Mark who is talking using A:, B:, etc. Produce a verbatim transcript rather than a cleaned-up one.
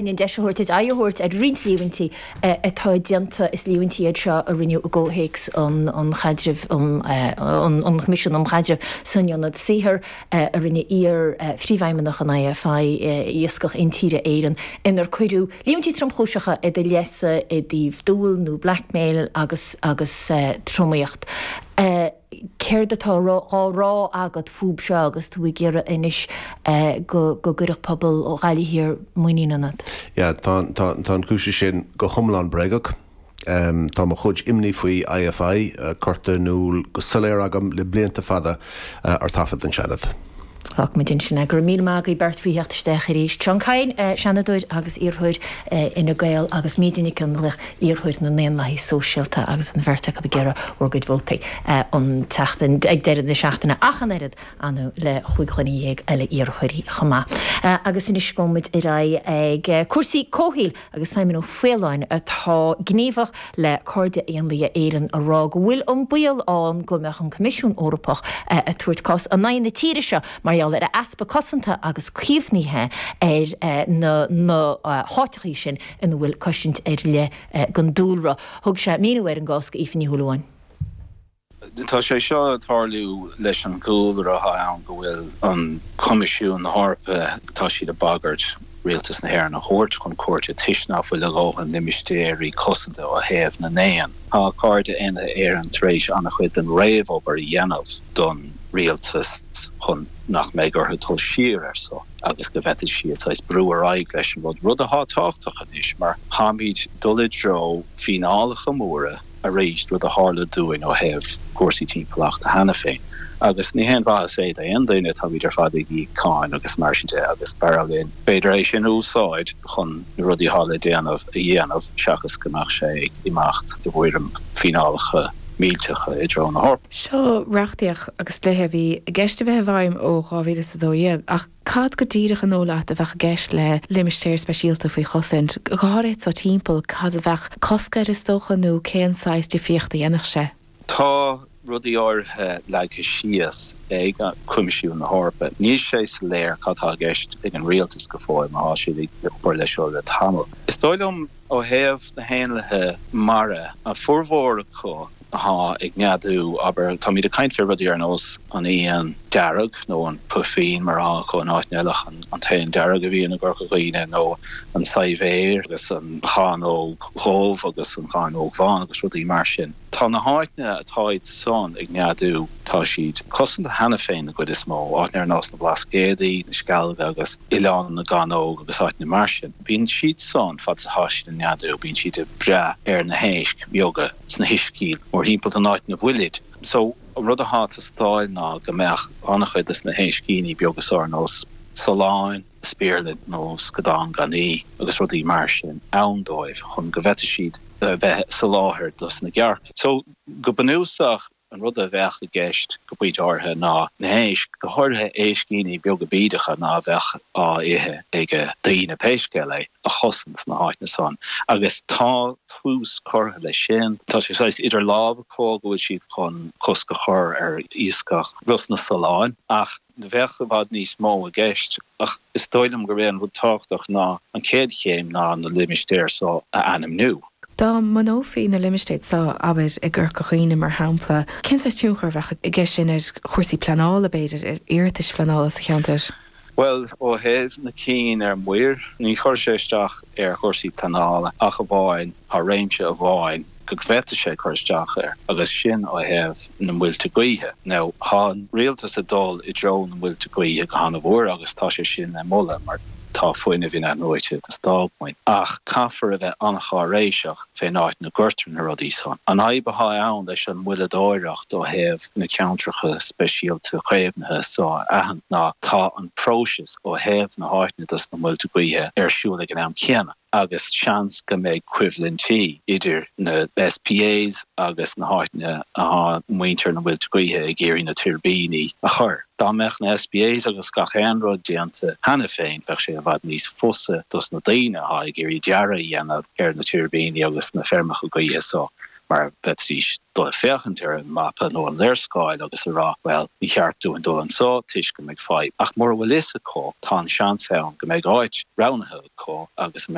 A: An deis a thabhairt aghaidh a thabhairt ar roinnt líomhaintí atá déanta is líomhaintí iad seo a rinneadh i gcomhthéacs an chaidrimh an Choimisiún um Chaidreamh san Ionad Saothair a rinne iar-phríomhfheidhmeannach an IFI Iascach Intíre Éireann inar cuireadh líomhaintí tromchúiseacha i do leithsa i dtaobh dúil nó blackmail agus agus tromaíocht. Céard atá á rá agat fúb seo agus tú ag iarraidh anois go gcuirfeadh pobal Ghaillimh Thiar muinín ionat?
B: Yeah, tá tá tá an cúis sin go hiomlán bréagach. Um, tá mo chuid imní faoi IFI uh, curtha in iúl go soiléir agam le blianta fada uh, ar taifead den Seanad.
A: Fágfaimid ansin é go raibh míle maith agaibh beirt faoi theacht isteach arís. Seán Kyne, Seanadóir agus iarrthóir Fhine Gael agus Míde Nic Fhionnlaoich, iarrthóir na nDaonlathaithe Sóisialta agus an bheirt acu ag iarraidh bhur gcuid vótaí an tseachtain ag deireadh na seachtaine ach an oiread anú le chúig dhuine dhéag eile iarrthóirí chomh maith. Agus anois gabhfaimid ar aghaidh ag cúrsaí comhshaoil agus Simon Ó Faoláin atá gníomhach le Cairde Éanlaithe Éireann a rá go bhfuil an baol ann go mbeadh an Coimisiún Eorpach ag tabhairt cás in aghaidh na tíre seo mar gheall ar easpa cosanta agus caomhnaithe ar na na háiteachaí sin ina bhfuil cosaint ar leith don dúlra. Thug sé míniú ar an gcás go Aoife Ní Shúilleabháin.
C: Tá sé seo ag tarlú leis an gcúlra atá ann go bhfuil an Coimisiún na hEorpa tá siad ag bagairt rialtas na hÉireann a thabhairt chun cúirte toisc nach bhfuil a dhóthain limistéirí cosanta ó thaobh na n-éan. Tá Cairde Éanlaithe Éireann tar éis an-chuid den réamhobair a dhéanamh don rialtas chun nach mbeidh orthu dul siar air so agus go bhféadfaidh siad saghas brú ar aghaidh leis an rud, rud atá tábhachtach anois mar táimid dul i dtreo fíneálacha móra arís, rud a tharla dúinn ó thaobh cúrsaí timpeallachta cheana féin. Agus ní haon mhaitheas é d'aon duine, táimid ar fad ag íoc cáin agus mar sin de agus b'fhearr linn b'fhéidir é sin a úsáid chun na rudaí atá le déanamh a dhéanamh seachas go mbeadh sé ag imeacht i bhfoirm fíneálacha millteacha i dtreo na hEorpa.
D: Seo reachtaíocht agus dlíthe a bhí i gceist a bheith i bhfeidhm ó dhá mhíle is a dó dhéag, ach cad go díreach an dóigh leat a bheadh i gceist le limistéir speisialta faoi chosaint, go háirithe sa timpeall, cad a bheadh cosc air is dócha nó cén saghas difríocht a dhéanfadh sé?
C: Tá rudaí áirithe leagtha síos ag Coimisiún na hEorpa. Níl sé soiléir cad tá i gceist ag an rialtas go fóill mar tá siad ag obair leis seo le tamall. Is dóigh liom ó thaobh na héanlaithe mara, a formhór acu atá ag neadú, abair, táimid ag caint fé rudaí ar nós an éan dearg nó an puifín mar atá acu in áiteanna eile, an t-éan dearg a bhíonn i gCorca Dhuibhne nó an saidhbhéar agus an chánóg dhubh agus an chánóg bhán agus rudaí mar sin. Tá na háiteanna atáid san ag neadú, tá siad cosanta cheana féin na gcuid is mó, áiteanna ar nós na Blascaodaí, na Scealga agus Oileán na gCánóg agus áiteanna mar sin. Bíonn siad san, fad is atá siad ag neadú, bíonn siad ag breith ar na héisc bheaga sna huiscí mórthimpeall don áit ina bhfuilid. So, an rud atá ag teastáil ná go mbeadh an-chuid de na héiscíní beaga so ar nós sulláin, spéirling nó scadán gan aoi agus rudaí mar sin ann dóibh chun go bhféadfaidh siad a bheith sa láthair dos na gearrcaigh. So, go bunúsach, an rud a bheadh i gceist go pointe áirithe ná na héisc, go háirithe éiscíní beaga bídeacha ná bheadh á ithe ag daoine pé scéal é, a chosaint sna háiteanna san. Agus tá tús curtha leis sin. Tá sé saghas idir lámha acu go bhfuil siad chun cosc a chur ar iascach ros na Solláin ach bheadh i bhfad níos mó i gceist. Ach is dóigh liom gurb é an rud tábhachtach ná an chéad chéim ná na limistéir so a ainmniú.
D: Dá mbunófaí na limistéir seo, abair, i gCorca Dhuibhne mar shampla, cén saghas tionchar a bheadh aige sin ar chúrsaí pleanála, b'fhéidir, ar iarratais phleanála sa cheantar?
C: Bhuel, ó thaobh na cinn ar muir, ní chuirfeadh sé isteach ar chúrsaí pleanála ach amháin, tá réimse amháin go bhféadfadh sé cur isteach air agus sin ó thaobh na muilte gaoithe. Now, tá an rialtas ag dul i dtreo na muilte gaoithe go han-mhór agus tá sé sin le moladh mar, Tá fuinneamh in-athnuaite ag teastáil uainn, ach caithfear a bheith an-cháiréiseach fén áit 'na gcuirtear na rudaí san. An fhadhb athá ann leis an moilleadóireacht ó thaobh na ceantracha speisialta caomhnaithe so a aithint ná tá an próiseas ó thaobh na háiteanna dos na muilte gaoithe ar siúl ag an am céanna. agus seans go mbeidh coimhlintí idir na SPAs agus na háiteanna athá muintir na muilte gaoithe ag iarraidh na tuirbíní a chur. Dá mbeadh na SPAs agus gach aon rud déanta cheana féin bheadh sé i bhfad níos fusa dos na daoine athá ag iarraidh dearadh a dhéanamh ar na tuirbíní agus na feirmeacha gaoithe so. mar bheidís dul ag féachaint ar an mapa nó an léarscáil agus a rá well ní cheart dúinn dul anseo toisc go mbeidh fadhb ach mura bhfuil fhios acu tá an seans ann go mbeidh áit roghnaithe acu agus